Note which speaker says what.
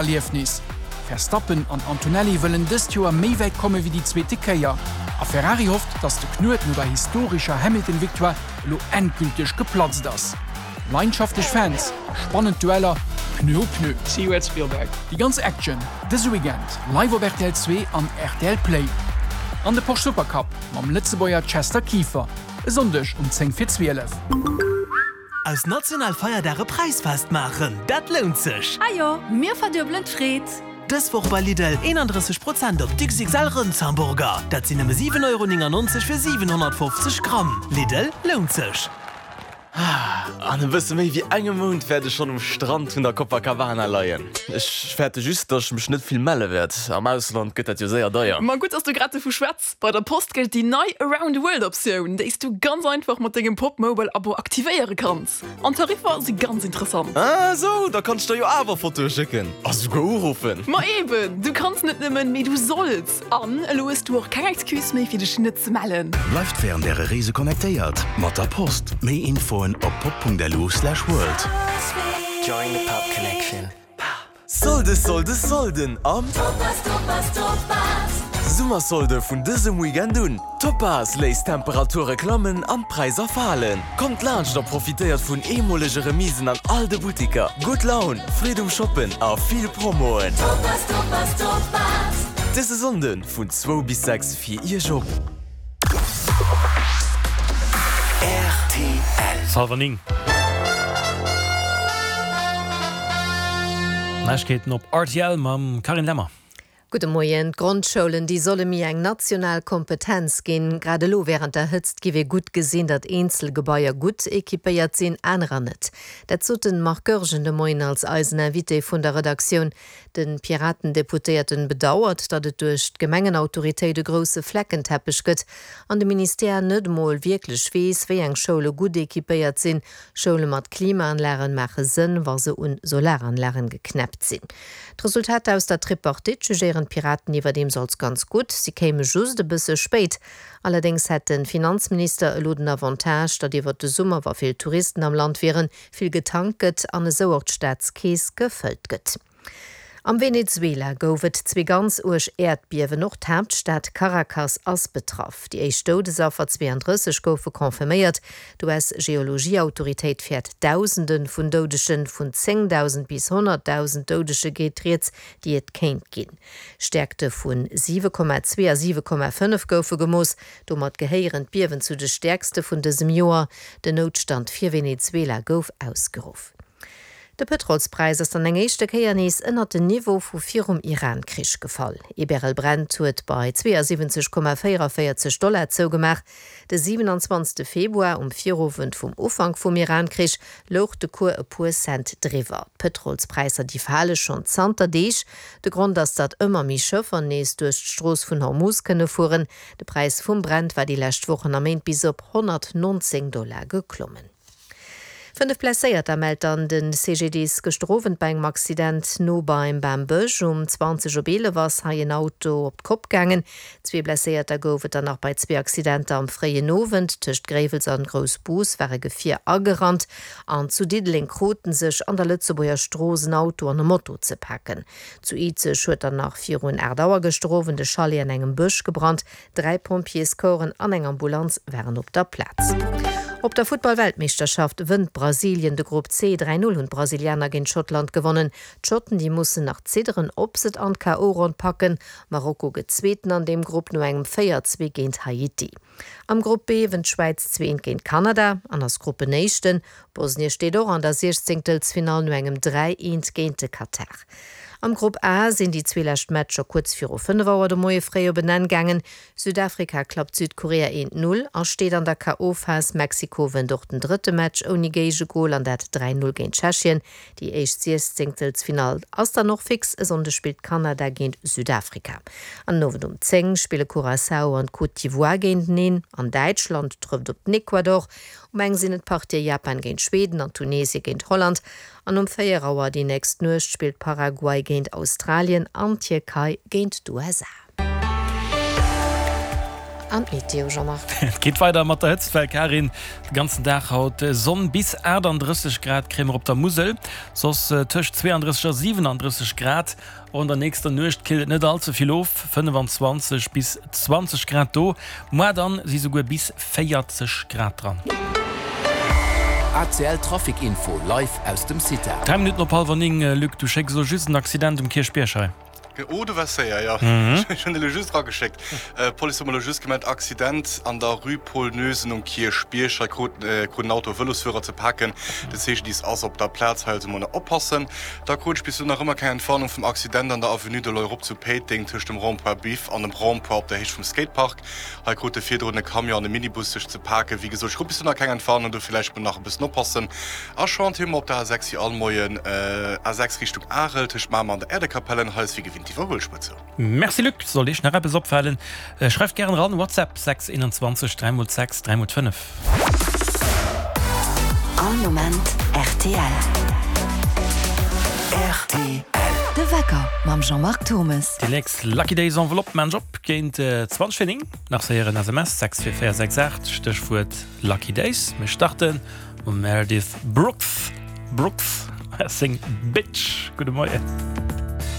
Speaker 1: Erliefnis. Verstappen an Antonelli wëllen dëst Joer méi wäit komme wéi déi zweete Kéier. A Ferrari hofft, datt de Knuet no der historescher Hamilton-Victoire elo endgülteg geplatzt ass. Leidenschaftlech Fans a spannend Dueller, Pneu u Pneu.
Speaker 2: See you at Spielberg.
Speaker 1: Déi ganz Action dëse Weekend live op rtl 2 an rtl Play. An de Porsche Supercup mam Lëtzebuerger Chester Kieffer e Sonndeg um 10 vir 12.
Speaker 3: Aus National Feierdag e Präisfest maachen, dat lount sech!
Speaker 4: Ajo, mir verduebelen d'Freed!
Speaker 3: Dës Woch bei Lidl, 31 Prozent op d'XXL Rëndshamburger, dat sinn nëmme 7,99 Euro fir 750 Gramm. Lidl, lount sech!
Speaker 5: An e bësse méi wéi engem Mount wäert ech schonn um Strand vun der Copacabana leien. Ech fäerte just, datt ech mech net vill melle wäert. Am Ausland gëtt dat jo séier deier.
Speaker 2: Ma gutt, dass du grad dovu schwätz. Bei der Post gëllt déi nei Around the World Optioun, déi s du ganz einfach mat dengem Popmobile Abo aktivéiere kanns. An d'Tariffer si ganz interessant.
Speaker 5: Ah esou, da kann ech der jo awer Fotoe schécken a souguer uruffen.
Speaker 2: Ma eben, du kanns net nëmmen, mee du solls! An elo hues du och keng Excuse méi fir dech net ze mellen.
Speaker 6: Bleift wärend äre Reese connectéiert mat der Post. Méi Infoen op pop.lu/world.
Speaker 7: Join the pop connection.
Speaker 5: Solde Solde Solden am
Speaker 8: Topaz Topaz Topaz!
Speaker 5: Summersolde vun dësem Weekend un! Topaz léisst d'Temperature klammen an d'Präisser falen. Kommt laanscht a profitéiert vun eemolege Remisen an all de Buttiker. Gutt Laun, Freed um Shoppen a vill Promoen!
Speaker 8: Topaz Topaz Topaz!
Speaker 5: Dëse Sonnde vun zwou bis 6 fir Iech op.
Speaker 9: Halwer 9. Neiegkeeten op rtl mam Carine Lemmer.
Speaker 10: Gudde Moien. D'Grondschoulen, déi solle méi eng national Kompetenz ginn. Grad elo wärend der Hëtzt giff ee gutt gesinn, datt eenzel Gebaier gutt equipéiert sinn, anerer net. Dat sot den Marc Goergen de Moien als eisen Invité vun der Redaktioun. De Piraten-Deputéierten bedauert, datt et duerch d'Gemengenautoritéit e grousse Fleckenteppech gëtt an de Ministère net emol wierklech weess, wéi eng Schoule gutt equipéiert sinn. Schoule mat Klimaanlagen maache Sënn, wa se un Solaranlagen geknäppt sinn. D'Resultater aus der Tripartite jugéieren d'Piraten iwwerdeems als ganz gutt. Si kéime just e bësse spéit. Allerdéngs hätt de Finanzminister elo den Avantage, datt iwwert de Summer, wa vill Touristen am Land wieren, vill getankt gëtt an esou och d'Staatskeess gefëllt gëtt. Am Venezuela gouf et zwee ganz uerg Äerdbiewen, och d'Haaptstad Caracas ass betraff. Déi éischt Doudesaffer, 32, goufe confirméiert. D'US-Geologieautoritéit fäert Dausende vun Doudegen, vun 10.000 bis 100.000 Doudege geet rieds, déi et kéint ginn. Stäerkte vu 7,2 a 7,5 goufe gemooss. Domat gehéieren d'Biewen zu de stäerkste vun dësem Joer. Den Noutstand fir Venezuela gouf ausgeruff. De Pëtrolspräis ass dann eng éischte Kéier nees ënnert den Niveau vu virum Iran-Krich gefall. Ee Barrel Brent huet bei 72,44 Dollar zougemaach. De 27 Februar, um Virowend vum Ufank vum Iran-Krich, louch de Cours e puer Cent driwwer. D'Pëtrolspräisser déi fale schonn zanter Deeg. De Grond ass, datt ëmmer méi Schëffer nees duerch d'Strooss vun Hormuz kënne fueren. De Präis vum Brent war déi lescht Wochen a Méint bis op 119 Dollar geklommen. 5 Blesséierter mellt dann de CGDIS gëschter Owend bei engem Accident no beim Bambësch. Um 20 op 11 ass hei en Auto op d'Kopp gaangen. Zwee Blesséierter gouf et dann nach bei zwee Accidenter am fréien Owend. Tëscht Gréiwels an Groussbus war e Gefier agerannt an zu Diddeleng kruten sech an der Lëtzebuerger Strooss en Auto an e Moto ze paken. Zu Izeg huet dann nach virun 8 Auer gëschter Owend e Chalet an engem Bësch gebrannt. Dräi Pompjeescorpsen an eng Ambulanz waren op der Plaz. Op der Futtball-Weltmeeschterschaft wënnt Brasilien de Grupp C. 3, 0 hunn d'Brasilianer géint Schottland gewonnen. D'Schotten, déi mussen nach zidderen, ob se et an d'KO-Ronn packen. Marokko gëtt Zweeten an deem Grupp no engem 4, 2 géint Haiti. Am Grupp B wënnt d'Schwäiz 2, 1 géint Kanada an ass Gruppenéischten. Bosnie steet och an der Siechzéngtelsfinall no engem 3, 1 géint de Katar. Am Grupp A sinn déi zwee lescht Matcher kuerz viru 5 Auer de Moie fréi op en Enn gaangen. Südafrika klappt Südkorea 1, 0 a steet an der KO-Phas. Mexiko wënnt och den drëtte Match ouni Géigegol an dat 3, 0 géint Tschechien. Déi éischt Siechzéngtelsfinall ass dann och fix. E Sonndeg spillt Kanada géint Südafrika. An den Owend um 10 spille Curaçao an d'Côte d'Ivoire géinteneen an Däitschland trëfft op den Ecuador. Um eng sinn et d'Partië Japan géint Schweden an Tunesie géint Holland an um 4 Auer déi nächst Nuecht spillt Paraguay géint Australien an d'Tierkei géint d'USA. an d'Meteo, Jean-Marc.
Speaker 9: Et geet weider mat der Hëtztwell, Karin. De ganzen Dag haut Sonn, bis 38 Grad kréie mer op der Musel, soss tëscht 32 a 37 Grad. Och an der nächster Nuecht killt et net all ze vill of, 25 bis 20 Grad do. Moar dann si souguer bis 40 Grad dran.
Speaker 11: ACL Trafic Info live aus dem CITA.
Speaker 9: 3 Minutten op hallwer 9, Luc, du schécks elo just en Accident um Kierchbierg hei.
Speaker 12: Oh, du waars séier, jo. Ech hunn elo just erageschéckt. D'Police huet mer elo just gemellt, Accident an der Rue Paul Noesen um Kierchbierg. Hei krut krut en Auto e Vëlosfuerer ze paken. De CGDIS ass op der Plaz, hei also mol oppassen. Da krut ech bis elo nach ëmmer keng Entwarnung vum Accident an der Avenue de l'Europe zu Péiteng tëscht dem Rond-point Biff an dem Rond-point op der Héicht vum Skatepark. Hei krute virdrun e Camion an e Minibus sech ze paken. Wéi gesot, ech krut bis elo nach keng Entwarnung, do villäicht mol nach e bëssen oppassen. A Chantier hu mer op der A6 wéi all Moien, A6 Richtung Arel tëscht Mamer an der Äerdekapellen. Hei ass wéi gewinnt d'Iwwerhuelspuer zou.
Speaker 9: Merci Luc, sollt iech nach eppes opfalen, schreift gären eran, WhatsApp 6 21 3 x 6 3 x 5.
Speaker 8: All Moment rtl.
Speaker 9: Rtl.
Speaker 4: De Wecker mam Jean-Marc Thommes.
Speaker 9: Déi nächst Lucky Days Enveloppe maan ech op géint 20 vir 9. Nach séier en SMS, 64468, Stéchwuert Lucky Days. Mir starten mam Meredith Brooks, Brooks a seng Bitch. Gudde Moien.